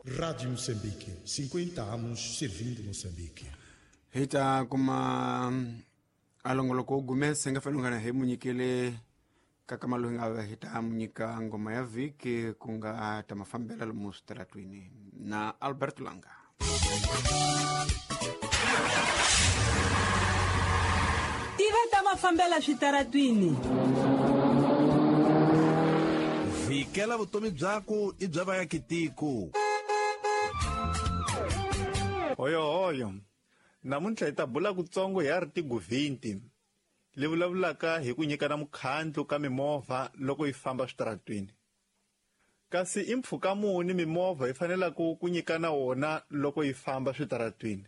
Rádio Moçambique, 50 anos servindo Moçambique. Hi ta kuma a longoloko wu gumese nga fanele hi mu nyikele kaka malu hi nga hi ta mu nyika ngoma ya vhiki ku nga ta mafambela lomu switaratwini na Albert Langa. Tiva ta mafambela switaratwini. Vhikela vutomi byaku i bya vaakitiko. Hoyohoyo, namuntlha hi ta bula kutsongo hi article 20 leyi vulavulaka hi ku nyikana mukhandlu ka mimovha loko yi famba switaratwini. Kasi i mpfhuka muni mimovha yi fanelaka ku nyikana wona loko yi famba switaratwini?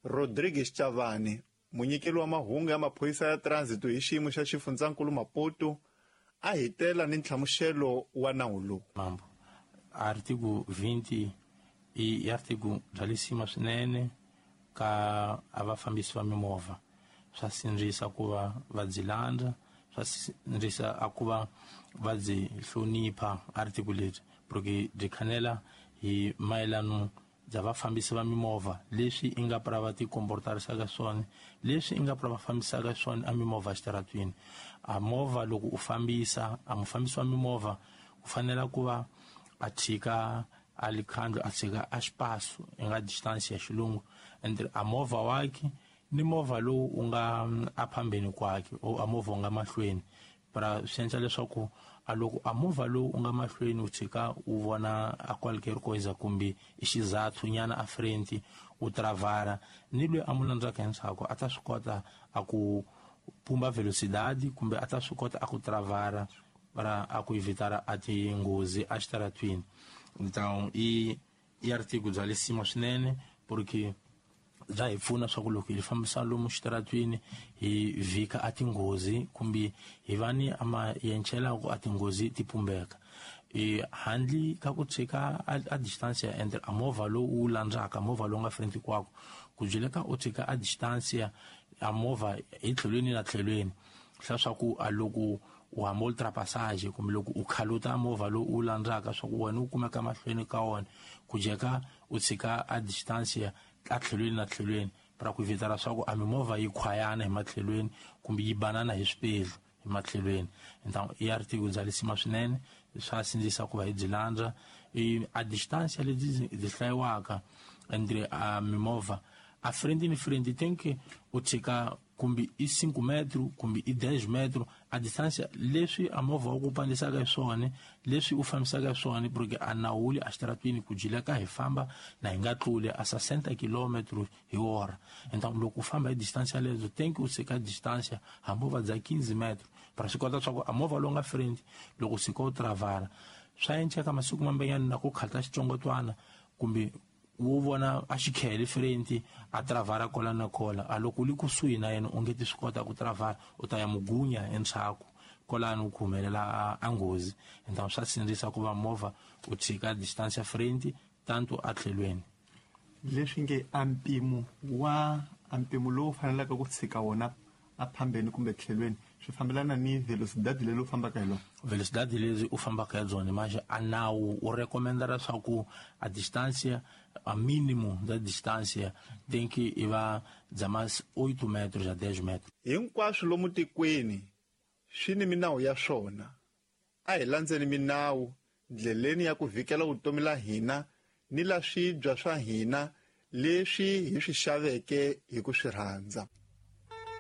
Rodrigues Chavani, munyikeli wa mahungu ya maphorisa ya transit hi xiyimo xa xifundzankulu Maputo, a hi tela ni nhlamuselo wa nawu lowu. Mambo, artigo 20 i artigo bya lisima swinene ka a vafambisi va mimovha. Swa sindzisa ku va va byi landza, swa sindzisa a ku va va byi hlonipha article lebyi, porque byi khanela hi mayelano bya vafambisi va mimovha, leswi i nga pra va ti komportarisaka swona, leswi i nga pra va fambisaka swona a mimovha exitaratwini. A movha loko u fambisa, a mufambisi wa mimovha u fanela ku va a tshika a likhandlu, a tshika a xipasu i nga distance ya xilungu entre a movha wakhe ni movha lowu u nga a phambeni kwakhe o a movha u nga mahlweni. Pra swi endla leswaku a loko a movha lowu u nga mahlweni u tshika u vona a qualquer coisa kumbe i xizathu nyana a frente u travara, ni loyi a mu landzaka endzhaku a ta swi kota a ku pumba velocidade kumbe a ta swi kota a ku travara para a ku evitara a tinghozi a xitaratwini. Então i artigo bya lisima swinene porque bya hi pfuna swa ku loko hi fambisa lomu xitaratwini hi vhika a tinghozi kumbe hi va ni a ma yenchelaku a tinghozi ti pumbeka. Handle ka ku tshika a distance ya entre a movha lowu wu landzaka, movha lowu nga front kwako, ku byeleka u tshika a distance ya a movha hi tlhelweni na tlhelweni, swa swa ku a loko u hamba ultrapassage kumbe loko u khaluta movha lowu u landzaka swa ku wena u kumeka mahlweni ka wona, ku jeka u tshika a distance ya a tlhelweni na tlhelweni para ku evitara swa ku a mimovha yi khwayana hi matlhelweni kumbe yi banana hi swipedlu hi matlhelweni. Então i artigo bya lisima swinene, swa sindzisa ku va hi byi landza. A distance lebyi byi hlayiwaka entre a mimovha a frente ni frente tem que u tshika kumbe i 5 metro kumbe i 10 metro a distance leswi a movha wu ku pandisaka hi swona, leswi u fambisaka hi swona, porque a nawuli a xitaratwini ku jileka hi famba na hi nga tluli a 60 kilometro hi hora. Então loko u famba hi distance yaleyo tem que u tshika distance hambi u va bya 15 metro para swi kota swa ku a movha lowu nga frente loko tshika u travara swa enceka masiku mambenyana na ku khata xitsongwatswana kumbe wo vona a xikhele frente a travara kola na kola, a loko u li kusuhi na yena u nge ti swi kota ku travara, u ta ya mugunya endzhaku kolani u ku humelela a nghozi. Então swa sindzisa ku va movha u tshika distance ya frente tanto a tlhelweni. Leswi nge a mpimo wa a mpimo lowu fanelaka ku tshika wona a phambeni kumbe tlhelweni swi fambelana ni velocidade leyi u fambaka hi lona. Velocidade leyi u fambaka hi byona, manje a nawu u recommenda leswaku a distance a mínimo da distância tem que ir va bya mas 8 metros a 10 metros. Hinkwaswo lomu tikweni swi ni minawu ya swona. A hi landzeni minawu ndleleni ya ku vhikela vutomi la hina ni la swibya swa hina leswi hi swi xaveke hi ku swi rhandza.